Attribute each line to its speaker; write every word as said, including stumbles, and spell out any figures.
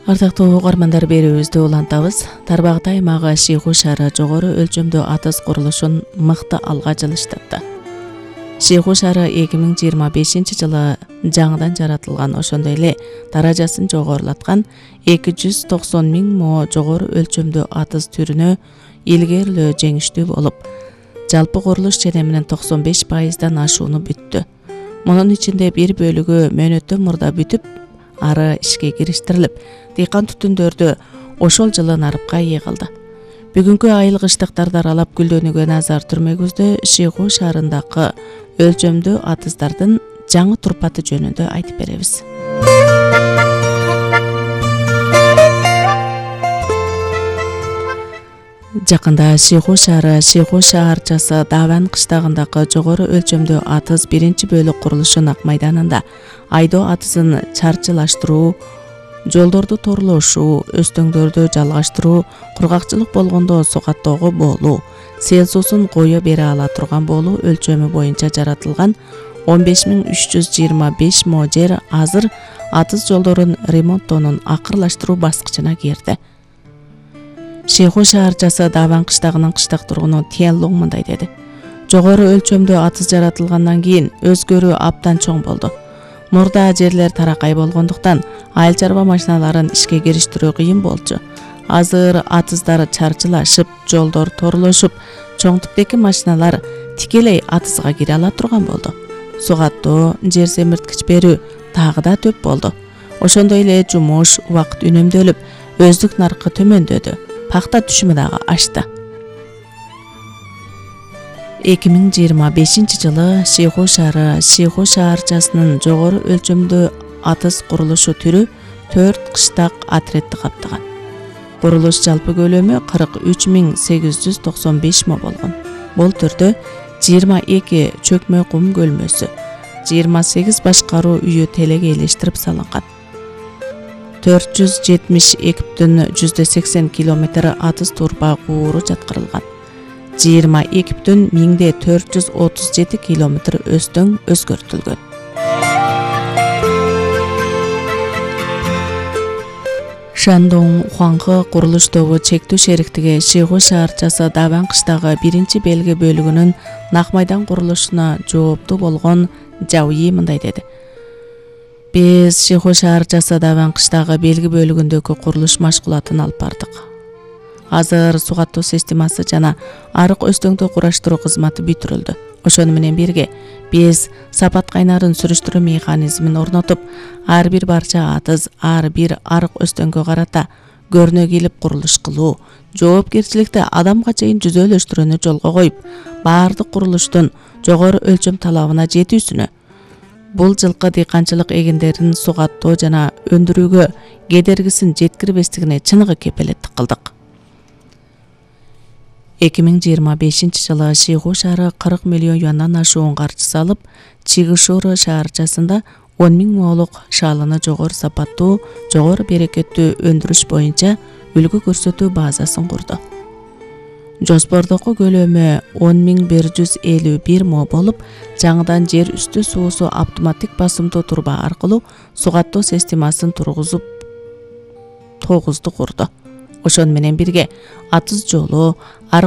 Speaker 1: Ардактуу угармандар, берүүбүздү улантабыз. Тарбагат аймагы Шыйгуу шаары жогору өлчөмдүү атыс курулушун мыкты алга жылыштатты. Шыйгуу шаары эки миң жыйырма бешинчи жылы жаңыдан жаратылган, ошондой эле даражасын жогорулаткан эки жүз токсон миң мо жогору өлчөмдүү атыс түрүнө илгерилөө жеңиштүү болуп, жалпы курулуш чене менен токсон беш пайыздан ашууну бүттү. Мунун ичинде бир бөлүгү мөөнөттөн мурда бүтүп, ары ишке кириштирилип, дыйкан түтүндөрдү ошол жылы нарыпка ээ кылды. Бүгүнкү айылгычтыктарды аралап гүлдөнүүгө назар түрмөгүздө Шыйгуу шаарындагы өлчөмдүү атыстардын жаңы турпаты жөнүндө айтып беребиз. Жакында Шыйгуу шаары Шыйгуу шаарчасы Даван кыштагындагы жогору өлчөмдүү атыс биринчи бөлүк курулушун Ак майданында айдоо атысын чарчылаштыруу, жолдорду торлошуу, өстөңдөрдү жалгаштыруу, кургакчылык болгондо сугаттоого болуу, сел суусун кое бере ала турган болуу өлчөмү боюнча жаратылган он беш миң үч жүз жыйырма беш мо жер азыр атыс жолдорун ремонттоонун акырлаштыруу баскычына кирди. Шыйгуу шаарчасы Даван кыштагынын кыштак тургуну Тиен Луң мындай деди: Жогору өлчөмдүү атыс жаратылгандан кийин өзгөрүү абдан чоң болду. Мурда жерлер таракай болгондуктан айыл чарба машиналарын ишке кириштирүү кыйын болчу. Азыр атыздар чарчылашып, жолдор торлошуп, чоң типтеги машиналар тикелей атызга кире ала турган болду. Сугаттоо, жер семирткич берүү дагы да төп болду. Ошондой эле жумуш, убакыт үнөмдөлүп, өздүк наркы төмөндөдү. Пахта түшүмү дагы ашты. эки миң жыйырма бешинчи жылы Шыйгуу шаары Шыйгуу шаарчасынын жогору өлчөмдүү атыс курулушу түрү төрт кыштак отрядты каптаган. Курулуш жалпы көлөмү кырк үч миң сегиз жүз токсон беш мо болгон. Бул түрдө жыйырма эки чөкмө кум көлмөсү, жыйырма сегиз башкаруу үйү телеге элештирип салынган. төрт жүз жетимиш эки бүтүн жүздө сексен километр атыс турба кууру жаткырылган. жыйырма эки бүтүн миңде төрт жүз отуз жети километр өстөң өзгөртүлгөн. Шандоң Хуаңкы курулуш тобу чектүү шериктиги Шыйгуу шаарчасы Даван кыштагы биринчи белги бөлүгүнүн Ак майдан курулушуна жооптуу болгон Жауи мындай деди: Биз Шыйгуу шаарчасы Даван кыштагы белги бөлүгүндөгү курулуш машгулатын алып бардык. Азыр сугаттоо системасы жана арык өстөңдү кураштыруу кызматы бүтүрүлдү. Ошону менен бирге биз сапат кайнарын сүрүштүрүү механизмин орнотуп, ар бир барча атыз, ар бир арык өстөңгө карата көрнө килип курулуш кылуу, жоопкерчиликти адамга чейин жүзөлөштүрүүнү жолго коюп, баардык курулуштун жогору өлчөм талабына жетүүсүнө, бул жылкы дыйканчылык эгиндерин сугаттоо жана өндүрүүгө кедергисин жеткирбестигине чыныгы кепилеттик кылдык. эки миң жыйырма бешинчи жылы Шыйгуу шаары кырк миллион юандан ашуун каржы салып, Чигишоро шаарчасында он миң моолук шаалыны жогору сапаттуу, жогору берекеттүү өндүрүш боюнча үлгү көрсөтүү базасын курду. Жоспордогу көлөмү он миң бир жүз элүү бир мо болуп, жаңыдан жер үстү суусу автоматтик басымдуу турба аркылуу сугаттоо системасын тургузуп тогузду курду. Ошону менен бирге атыс жолу,